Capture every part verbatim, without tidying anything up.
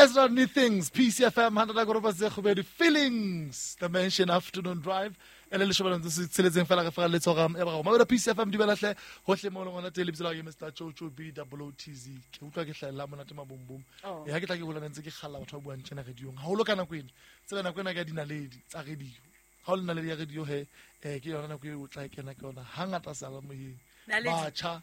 Ezra New Things, P C F M, Feelings, The Mansion Afternoon Drive. Ele le shobana ntse tsheletseng fela re fela le tsoga e ba go mabela P C F M dumela hle hohle mo lengwana tele lebitso la ke Mister Chocho B O O T Z ke utlwa ke hlahella monate mabombom e ha ke tla ke hola ntse ke kgalla batho ba buang tjena radiong haholo ka nako ena tsela nako ena ka dinaledi tsa radio ha o le naledi ya radio he eh ke yona nako e o tla kena ke yona hangata sala moyeng batjha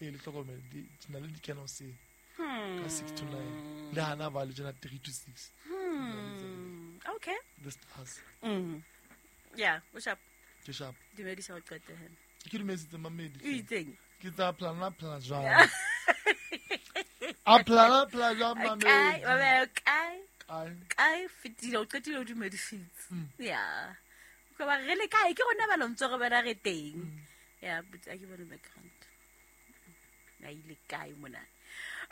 e le hlokomele dinaledi di kena hoseng ka six to nine le hana ba le tjena three to six. Hmm. Okay, the stars. Mm. Yeah, what's up? Ke sharp. Dumedisa ho qete he. Ke dumedisitse mamedi. O itseng? Ke tsa plana plana jwang. A plana plana jwang mamedi. Kae, ba kae? Kae. Kae fetile o qetile o dumedisitse. Yeah. Ko ba re le kae ke rona ba lo ntse re bana re teng. Yeah, but a ke bone background. Na ile kae mona?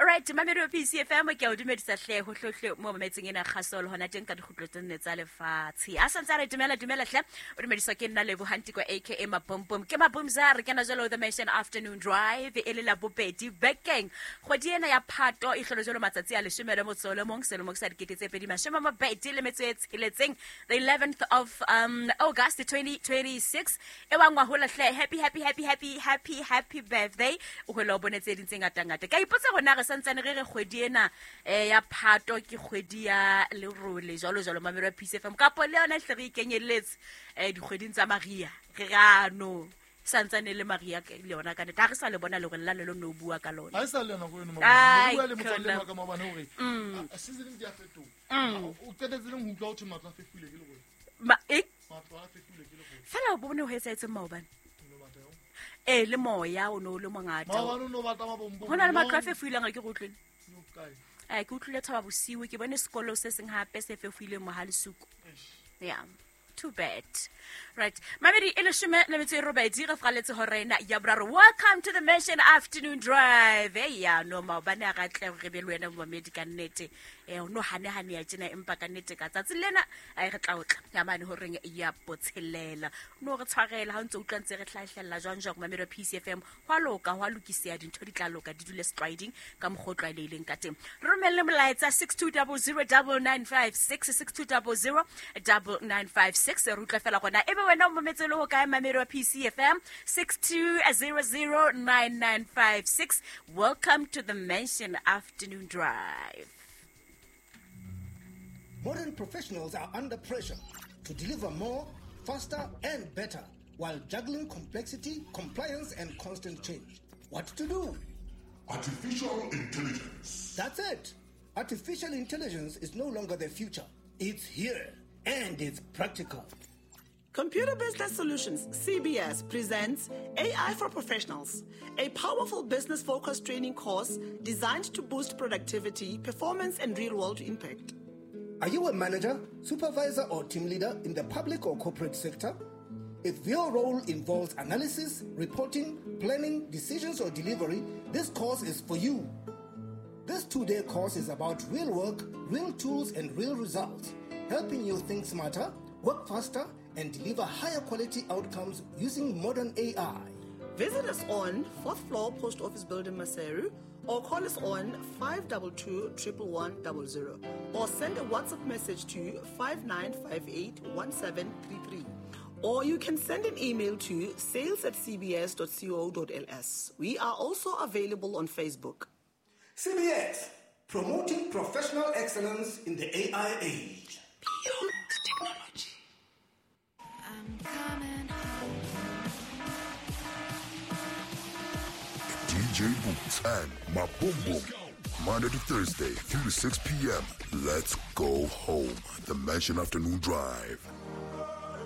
All right, mamedi wa P C F M ke a o dumedisa hle ho hlohle mo mametseng ena kgasolo hona teng ka dikgutlo tse nne tsa lefatshe. A santse re dumela dumela hle o dumediswa ke nna Lebo Hantiko aka Mabombom. Ke Mabomza re kena jalo The Mansion Afternoon Drive e le la bobedi bekeng. Kgwedi ena ya Phato e hlolo jalo matsatsi a leshome le motso le mong selemo sa dikete tse pedi mashome a mabedi le metso e tsheletseng, the eleventh of um August twenty twenty-six. E wangwa hola hle happy happy happy happy happy happy birthday. O hwela o bone tse ding tse ngata ngata. Ka ipotsa gona re santsane re re kgwedi ena eh ya Phato ke kgwedi ya lerole jalo jalo mamelo ya P C F M kapo le yona hle re ikenyelletse eh dikgweding tsa Maria re rano santsane le Maria le yona ka nete ha re sa le bona le re la le no bua ka lona ha sa le yona go eno bua le motswalle wa ka maobane hore season di a fetoha o qetetse leng ho utlwa ho thwe matlo a fefile ke le gore ma e matlo a fefile ke le gore fela o bone ho etsahetse maobane e le moya o no le mongata maobane no batla mabombo hona le matlo a fefuileng a ke go utlwile no kae eh ke utlwile thaba bosiu ke bone sekolo se seng hape se fefuileng Mohalesuku. Yeah, too bad. Right. Mamedi e leshome le metso e robedi re fraletse horena ya boraro. Welcome to the Mansion Afternoon Drive. Eh ya no maobane a ratle re be le wena mamedi ka nnete. Eh no hane hane ya tjena empa ka nnete ka tsatsi lena ai re tla otla. Ya mane horeng ya botshelela. No re tshwarela ha ntse utlwa ntse re hlahlella jwang jwang mamedi P C F M. Hwa loka hwa lokisea dintho di tla loka di dule sliding ka mokgwa o tlwaelehileng ka teng. Re romelle molaetsa six two zero zero nine nine five six six two zero zero nine nine five six re utlwa fela gona ebe wena o mometse le ho kae mamedi wa P C F M six two zero zero nine nine five six. Welcome to the Mansion Afternoon Drive. Modern professionals are under pressure to deliver more, faster and better while juggling complexity, compliance and constant change. What to do? Artificial intelligence. That's it. Artificial intelligence is no longer the future. It's here and it's practical. Computer Business Solutions, C B S, presents A I for Professionals, a powerful business-focused training course designed to boost productivity, performance, and real-world impact. Are you a manager, supervisor, or team leader in the public or corporate sector? If your role involves analysis, reporting, planning, decisions, or delivery, this course is for you. This two-day course is about real work, real tools, and real results, helping you think smarter, work faster, and deliver higher quality outcomes using modern A I. Visit us on fourth floor Post Office Building, Maseru, or call us on five two two, one one one zero zero or send a WhatsApp message to five nine five eight, one seven three three. Or you can send an email to sales at c b s dot co dot l s. We are also available on Facebook. C B S, promoting professional excellence in the A I age. Beyond technology. I'm coming home. D J Boots and Mabombom, Monday to Thursday, three to six p.m. Let's go home. The Mansion Afternoon Drive.